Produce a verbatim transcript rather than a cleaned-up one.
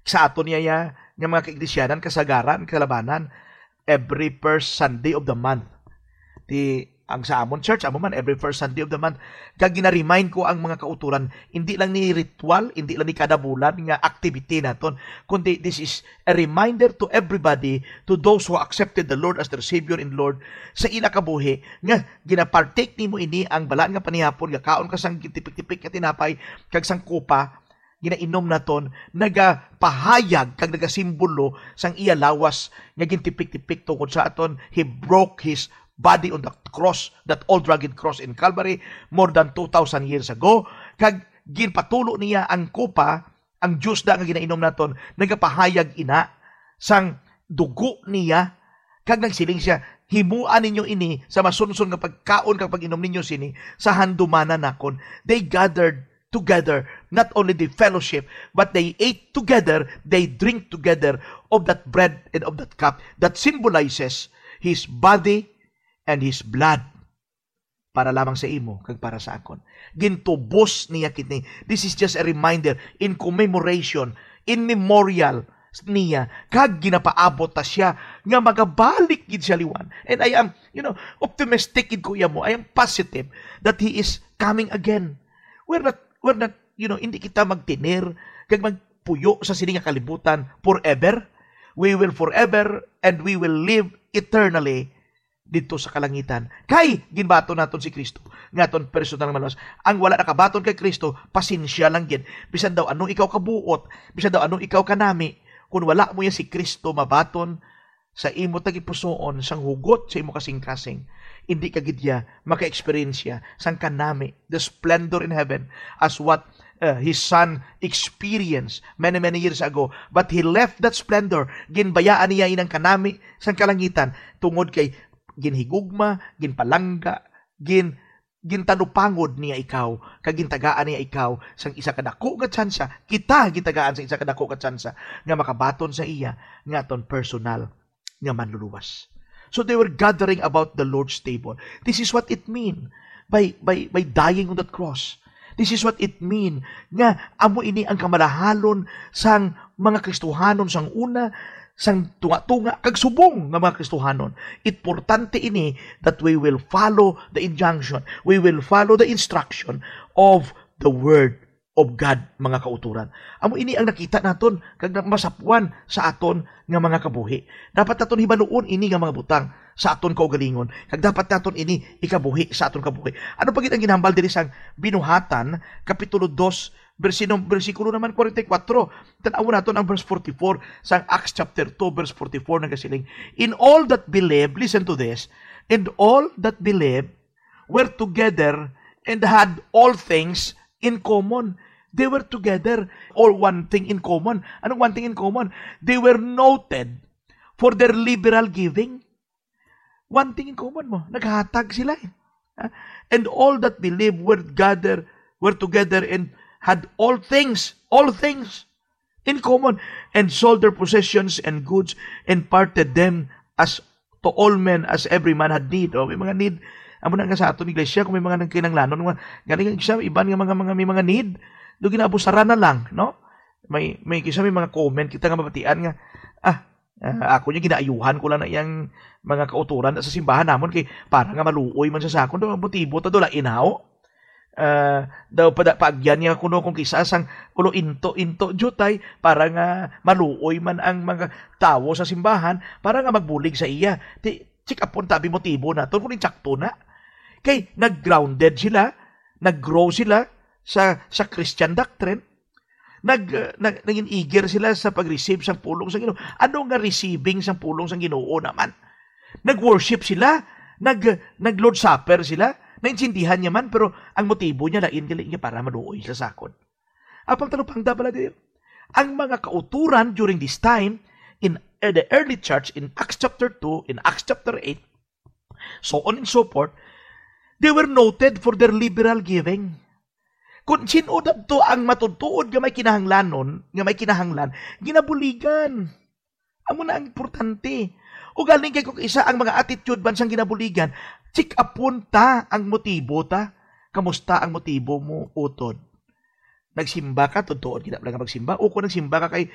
Sa aton niya, ya, nga mga kaiglesia, kasagaran, kalabanan, every first Sunday of the month. Ti, ang sa amon church, amo man, every first Sunday of the month. Kag gina-remind ko ang mga kauturan, hindi lang ni ritual, hindi lang ni kada bulan nga activity naton, kundi this is a reminder to everybody, to those who accepted the Lord as their Savior and Lord sa ila kabuhi, nga ginapartake nimo ini, ang balaan nga panihapon, nga kaon ka sang gintipik-tipik nga tinapay kag sang kupa, ginainom naton, nagapahayag kag nagasimbolo sang iya lawas nga gintipik-tipik tungod sa aton. He broke his body on the cross, that old rugged cross in Calvary, more than two thousand years ago. Kag ginpatulo niya ang kupa, ang juice da nga ginainom naton, nagapahayag ina sang dugo niya. Kag nagsiling siya, "Himoa ninyo ini sa masunson nga pagkaon kag pag-inom ninyo sini sa handumanan nakon." They gathered together, not only the fellowship, but they ate together, they drink together of that bread and of that cup that symbolizes his body and his blood, para lamang sa imo kag para sa akon. Gintubos niya kini. This is just a reminder, in commemoration, in memorial niya, kag ginapaabot ta siya nga magabalik gid siya liwat. And I am, you know, optimistic gid, kuya mo. I am positive that he is coming again. We're not, we're not, you know, hindi kita magtener kag magpuyo sa sini nga kalibutan forever. We will forever and we will live eternally didto sa kalangitan. Kay ginbaton naton si Cristo nga aton personal nga maluwas. Ang wala nakabaton kay Cristo, pasensya lang gid. Bisan daw ano ikaw kabuot, bisan daw ano ikaw kanami, kung wala mo ya si Cristo mabaton sa imo tagipusoon sang hugot sa imo kasingkasing, hindi ka gid ya maka-eksperyensya sang kanami, the splendor in heaven, as what uh, his son experienced many, many years ago. But he left that splendor. Ginbayaan niya inang kanami sang kalangitan tungod kay ginhigugma, ginpalangga, gin gintanupangod niya ikaw, kag gintagaan niya ikaw sang isa ka dako nga tsansa, kita gintagaan sang isa ka dako nga tsansa nga makabaton sa iya nga aton personal nga manluluwas. So they were gathering about the Lord's table. This is what it mean by, by, by dying on that cross. This is what it mean nga amo ini ang kamalahalon sang mga Kristohanon sang una, sang tunga-tunga kag subong nga mga Kristohanon. Importante ini that we will follow the injunction. We will follow the instruction of the word of God, mga kauturan. Amo ini ang nakita naton kag na-, masapwan sa aton nga mga kabuhi. Dapat naton hibaluon ini nga mga butang sa aton kaugalingon, kag dapat naton ini ikabuhi sa aton kabuhi. Ano pa gid ang ginhambal diri sang Binuhatan, Kapitulo dos, bersino-, bersikulo naman forty-four? Tan-awon naton ang verse forty-four sang Acts chapter two, verse forty-four, nagasiling, "In all that believe," listen to this, "and all that believe were together and had all things in common." They were together, all one thing in common. Anong one thing in common? They were noted for their liberal giving. One thing in common mo, naghatag sila eh. Ah, "And all that believe were gathered, were together and had all things, all things in common, and sold their possessions and goods and parted them as to all men as every man had need." O, may mga need. Amo na nga sa aton iglesia, kung may mga nagkinahanglanon, mga, galing ang isa, iban nga mga, mga, may mga need, do ginabusaran na lang, no? May, may kisa may mga comment kita nga mabatian nga, "Ah, ah, ako niya ginaayuhan ko lang na iyang mga kauturan sa simbahan namon kay para nga maluoy man sa sakon." Do, ang motibo ta do, lain haw. Ah, daw pada paagyan niya kuno kung kisa sang ulo into, into jutay para nga maluoy man ang mga tawo sa simbahan, para nga magbulig sa iya. Ti, check upon tabi motibo naton kung insakto na. Kay nag-grounded sila, nag-grow sila sa, sa Christian doctrine, nag, uh, nag, naging eager sila sa pag-receive sang pulong sa Ginoo. Ano nga receiving sang pulong sa Ginoo naman? Nag-worship sila, nag, nag-Lord Supper sila. Naintindihan niya man, pero ang motibo niya lain gali niya para maluoy sa sakon. Apang talupangda pala diri, ang mga kauturan during this time in, uh, the early church, in Acts chapter two, in Acts chapter eight, so on and so forth, they were noted for their liberal giving. Kung sin-o dadto ang matutuod nga may kinahanglanon, nga may kinahanglan, ginabuligan. Amo na ang importante. Ugaling kay kung isa ang mga attitude man sang ginabuligan, check upon ta ang motibo ta. Kamusta ang motibo mo, utod? Nagsimba ka, tutuod kita lang magsimba. O kung nagsimba ka kay